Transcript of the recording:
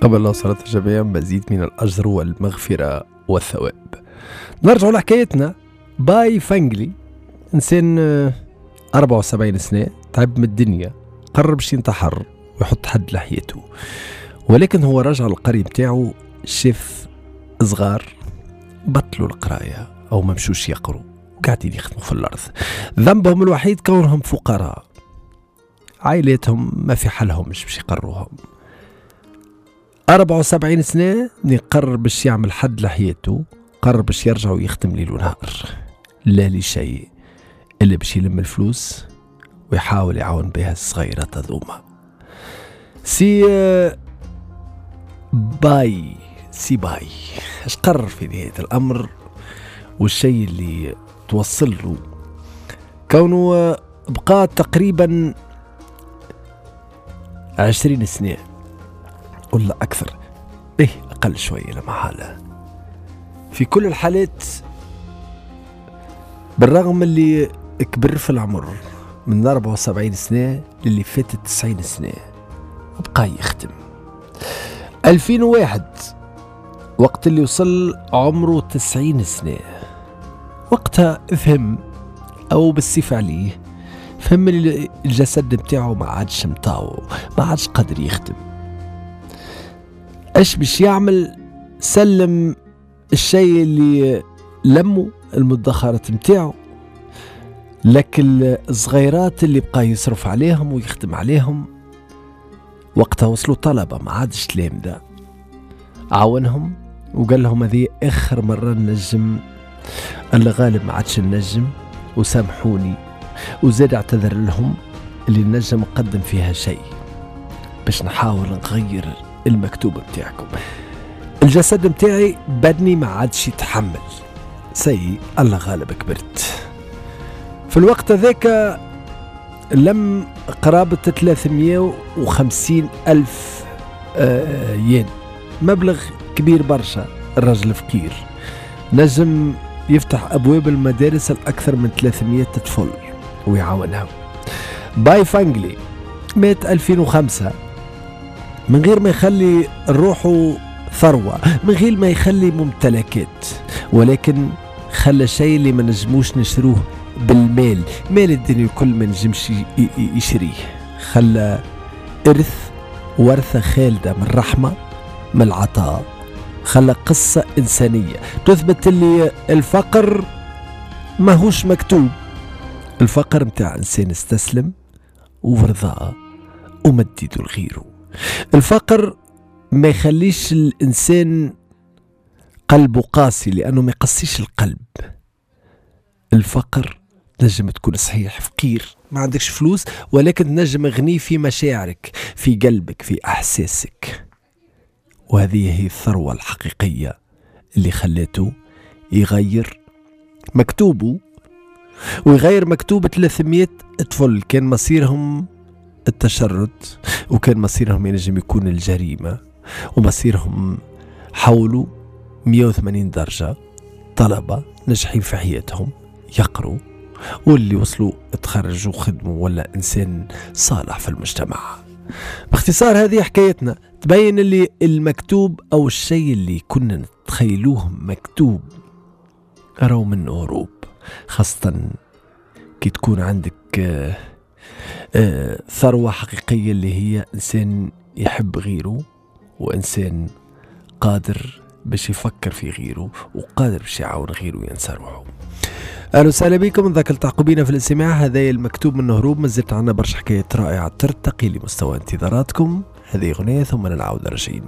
تقبل الله صلاة الجميع، مزيد من الأجر والمغفرة والثواب. نرجع لحكايتنا. باي فانجلي إنسان 74 سنة، تعب من الدنيا، قرر باش ينتحر ويحط حد لحياته، ولكن هو رجع للقرية بتاعه، شاف صغار بطلوا القراية أو ما مشوش يقروا وقاعدين يخدموا في الأرض. ذنبهم الوحيد كونهم فقراء، عائلاتهم ما في حالهم مش باش يقروهم. 74 سنة قرر باش يعمل حد لحياته، قرر باش يرجع ويخدم ليل ونهار، لا لشيء إلا باش يلم الفلوس ويحاول يعاون بها الصغيرات هذوما. سي باي سي باي اش قرر في نهاية الأمر والشيء اللي توصل له، كونه بقى تقريبا 20 سنة ولا أكثر، إيه أقل شوية لما حالة. في كل الحالات بالرغم اللي كبر في العمر من 74 سنة للي فاتت 90 سنة وبقى يخدم. 2001 وقت اللي وصل عمره 90 سنة، وقتها فهم أو بالصفة عليه فهم اللي الجسد بتاعه ما عادش مطاوع، ما عادش قادر يخدم. اش باش يعمل؟ سلم الشيء اللي لمه المدخرات متاعه لكن الصغيرات اللي بقى يصرف عليهم ويخدم عليهم. وقتها وصلوا طلبة ما عادش تلامذة، عاونهم وقال لهم هذه اخر مرة نجم، الغالب ما عادش نجم وسامحوني، وزاد اعتذر لهم اللي نجم نقدم فيها شيء باش نحاول نغير المكتوب بتاعكم. الجسد متاعي بدني ما عادش يتحمل، سي الله غالب كبرت. في الوقت هذاك لم قرابة 350 ألف ين، مبلغ كبير برشا. الرجل فقير نجم يفتح أبواب المدارس الأكثر من 300 طفل ويعاونها. باي فانجلي مات 2005 من غير ما يخلي روحه ثروة، من غير ما يخلي ممتلكات، ولكن خلى شيء اللي ما نجموش نشروه بالمال، مال الدنيا الكل ما نجمش يشريه. خلى إرث، ورثة خالدة من الرحمة، من العطاء. خلى قصة إنسانية تثبت اللي الفقر ماهوش مكتوب. الفقر متاع إنسان استسلم ورضاه ومديده لغيره. الفقر ما يخليش الإنسان قلبه قاسي لأنه ما يقسيش القلب. الفقر تنجم تكون صحيح فقير ما عندكش فلوس، ولكن تنجم غني في مشاعرك، في قلبك، في أحساسك. وهذه هي الثروة الحقيقية اللي خلاته يغير مكتوبه ويغير مكتوب 300 طفل كان مصيرهم التشرد، وكان مصيرهم ينجم يكون الجريمة، ومصيرهم حولوا 180 درجة. طلبة ناجحين في حياتهم يقروا، واللي وصلوا تخرجوا وخدموا، ولا إنسان صالح في المجتمع. باختصار هذه حكايتنا تبين اللي المكتوب أو الشيء اللي كنا نتخيلوه مكتوب راهو منه هروب، خاصة كي تكون عندك ثروة حقيقية اللي هي إنسان يحب غيره، وإنسان قادر باش يفكر في غيره، وقادر باش يعاون غيره وينسى روحه. أهلا وسهلا بكم، نذكر التحقوا بينا في الاستماع. هذا المكتوب من هروب، مازلت عنا برشا حكايات رائعة ترتقي لمستوى انتظاراتكم. هذه أغنية ثم نعود راجعين.